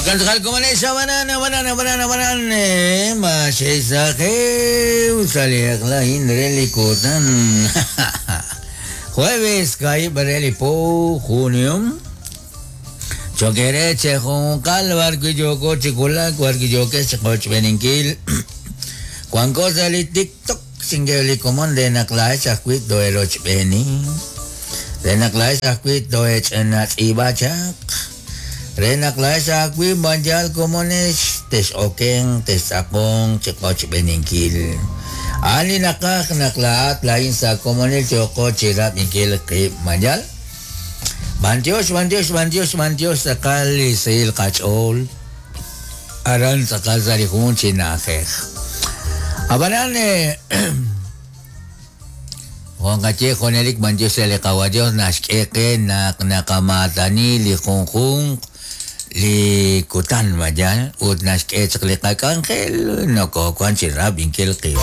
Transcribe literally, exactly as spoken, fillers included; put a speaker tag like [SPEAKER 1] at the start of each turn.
[SPEAKER 1] Jokan komonex abanan abanan abanan abanan maxexajew saliaqla indreli kutan jueves kai bareli po junio choquereche junqal barquilloko chikulak barquilloke chiqochbeninkil Juan cosa li TikTok singeli komon de naklaech ajwi' toerochb'eni de naklaech ajwi' toech'enatz'ib'achaq re naq laex ajwi' banjal komonex tex'oken textz'aqon chiqochb'eninkil ani naqaj naq laat lain sa komonil choqo chirab'inkil qib' manjal bantiox bantiox bantiox bantiox tz'aqal li sihil qach'ool aran tz'aqal sa li jun chi na'ajej abanan Juan qaye junelik bantiox li qawadios naxk'e qe naq naqamatani li junjunq li kutan mayan ut naxk'e chaq li qak'anjel nokoowan chi rab'inkil qib'